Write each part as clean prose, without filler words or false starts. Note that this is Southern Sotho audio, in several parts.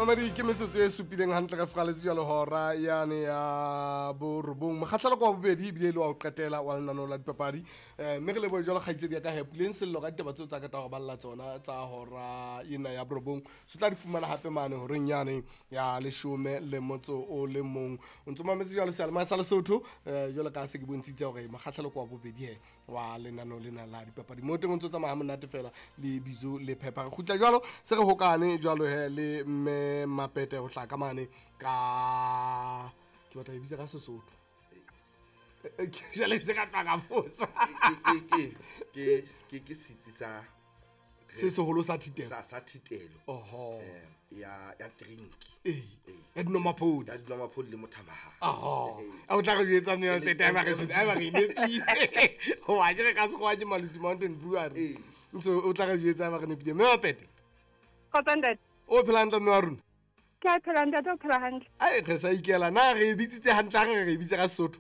Mamedi, ke metsotso e supileng hantle ka fora letsatsi jalo hora yane ya borobong, mokgatlhelo kwa bobedi ebile e le wa ho qetela wa lenaneo la dipapadi. Mme re lebohe jwalo kgaitsedi ya ka hepuleng sello ka ditaba tseo tsa ka tsa go balla tsona tsa hora ena ya borobong. Se tla di fumana hape mane horeng yane ya 11. O ntso mametse jwalo seyalemoya sa Lesotho, jwalo ka se ke bontshitse hore mokgatlhelo kwa bobedi he wa lenaneo lena la dipapadi mo teng o ntso tsamaya monate fela le bizo le phepha. Re kgutla jwalo se re hokane jwalo he le mme Mapete ho tla ka mane ka ke batla e bitsa ka Sesotho. Jwale se ka tla ka fosa. Ke setsi sa se seholo sa thitelo, sa thitelo. Oho. Ya drink. Ee, ya dinomaphodi. Ya dinomaphodi le mothamahane. Oho. A o tla re jwetsa mme Mapete a ba re se a ba re nepile hoba ke re ka Sekgowa ke Maluti Mountain Brewery. So o tla re jwetsa ba re nepile, mme Mapete. Kgotsa ntate. O phela hantle, mme wa rona? Ke a phela ntate, o phela hantle? Ai, re sa ikela na re e bitsitse hantle ha re e bitse ka Sesotho?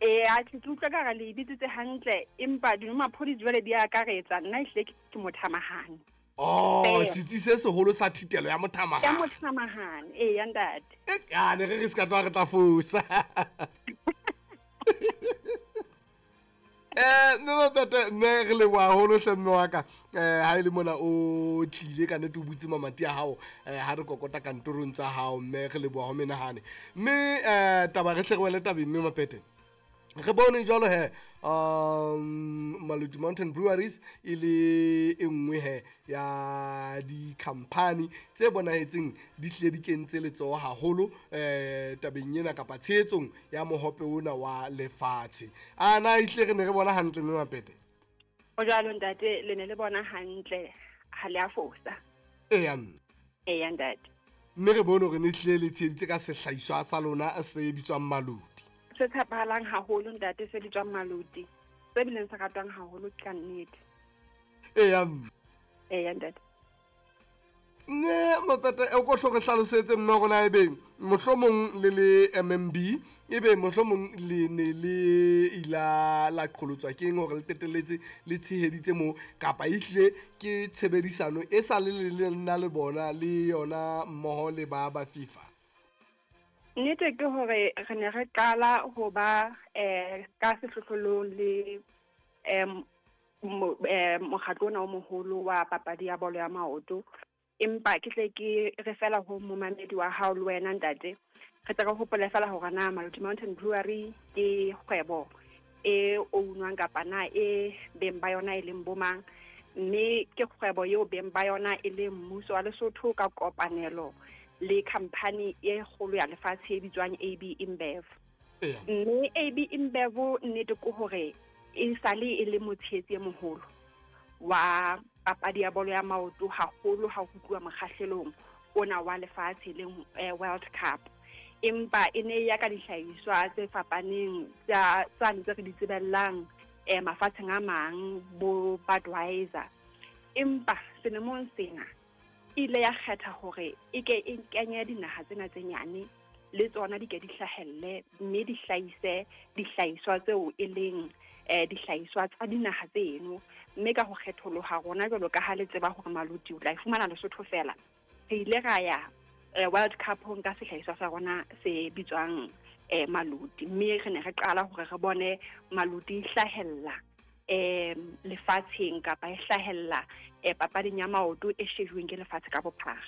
Ee, a ke utlwa ka re le e bitsitse hantle, empa dinomaphodi jwale di akaretsa nna ehlile ke mothamahane. Oh, setsi se seholo sa thitelo ya mothamahane. Ya mothamahane, ee ya ntate. A ne re se ka tloha re tla fosa. Mme Mapete, mme re leboha haholo hle mme wa ka. Ha e le mona o tlile ka nnete o butse mamati a hao, ha re kokota kantorong tsa hao, mme re leboha ho menahane. Mme taba re hle re wele tabeng, mme Mapete. Re bone jwalo he, Maluti Mountain Breweries e le e nngwe he ya di-company tse bonahetseng di hlile di kentse letsoho haholo tabeng ena kapa tshehetsong ya mohope ona wa lefatshe. A na ehlile re ne re bona hantle, mme Mapete? O jwalo ntate, le ne le bona hantle, ha le a fosa. Eya mme. Eya ntate. Mme re bone hore ne hlile le tsheheditse ka sehlahiswa sa lona se bitswang Maluti. Se tshepahalang haholo ntate, se bitswang Maluti, se bileng se ratwang haholo ka nnete. Eya mme. Eya ntate. Ne Mapete, o ko hlo re hlalosetse mme rona ebe mohlomong le le MMB, ebe mohlomong le ne le ila la qholotswa keng hore le qetelletse le tsheheditse moo, kapa ehlile ke tshebedisano e sa le le nna le bona le yona mmoho le ba ba FIFA? Nnete ke hore re ne re qala ho ba ka sehlohlolong le mokgatlo ona o moholo wa papadi ya bolo ya maoto. Empa ke tle ke re fela ho momamedi wa hao le wena ntate, re tle re hopole fela hore na Maluti Mountain Brewery ke kgwebo e ownwang kapa na e beng ba yona e leng bomang, mme ke kgwebo eo beng ba yona e leng mmuso wa Lesotho ka kopanelo le company e kgolo ya lefatshe e bitswang AB InBev. Mme AB InBev nnete ke hore e sale e le motshehetsi e moholo wa papadi ya bolo ya maoto haholo ha ho tluwa mokgahlelong ona wa lefatshe leng World Cup. Empa e ne ya ka dihlahiswa tse fapaneng tsa tsane tse re di tsebellang mafatsheng a mang bo Budweiser. Empa selemong sena ile ya kgetha hore e ke e kenye dinaha tsena tse nyane le tsona di ke di hlahelle mme di hlahise dihlahiswa tseo e leng dihlahiswa tsa dinaha tseno. Mme ka ho kgetholoha rona jwalo ka ha le tseba hore Maluti o tla e fumana Lesotho fela, re ile ra ya World Cup-ong ka sehlahiswa sa rona se bitswang Maluti, mme re ne re qala hore re bone Maluti e hlahella lefatsheng kapa e hlahella papading ya maoto e shejuweng ke lefatshe ka bophara.